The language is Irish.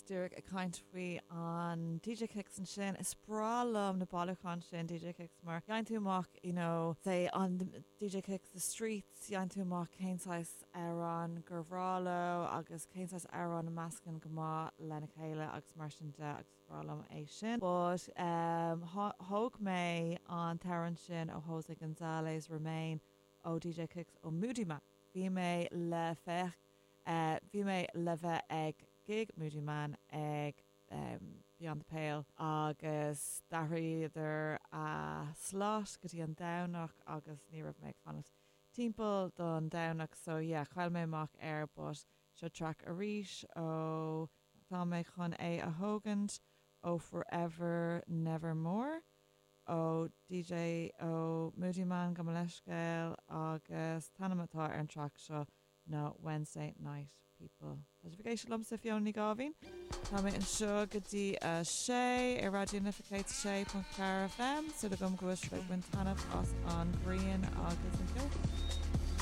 díreach ag caint faoi an DJ Kicks ansin. Is breá liom na bailiúcháin sin DJ Kicks mar gheibheann tú amach you know say an DJ Kicks The Streets gheibheann tú amach cén saghas amhrán gur bhreá leo agus cén saghas amhrán a meascann go maith lena chéile agus mar sin de agus is breá liom é sin. But um thóg mé an t-amhrán sin ó Jose Gonzalez Remain ó DJ Kicks ó Moodymann. Bhí mé le féach Bhí mé le bheith ag gig Moodymann ag Beyond the Pale agus d'athraíodar a slot go dtí an Domhnach agus ní raibh mé ag fanacht timpeall don Domhnach so yeah chaill mé amach air but seo track arís ó tá mé chun é a thógaint ó Forever Nevermore ó DJ ó Moodymann gabh mo leithscéal agus an t-ainm atá ar an track seo ná Wednesday Night People. Tá sibh ag éisteacht liomsa, Fiona Ní Gáibhín. Tá mé anseo go dtí a sé ar Raidió na Life 106.4 FM. Súil agam go bhfuil sibh ag baint taitneamh as an ghrian agus an ceol.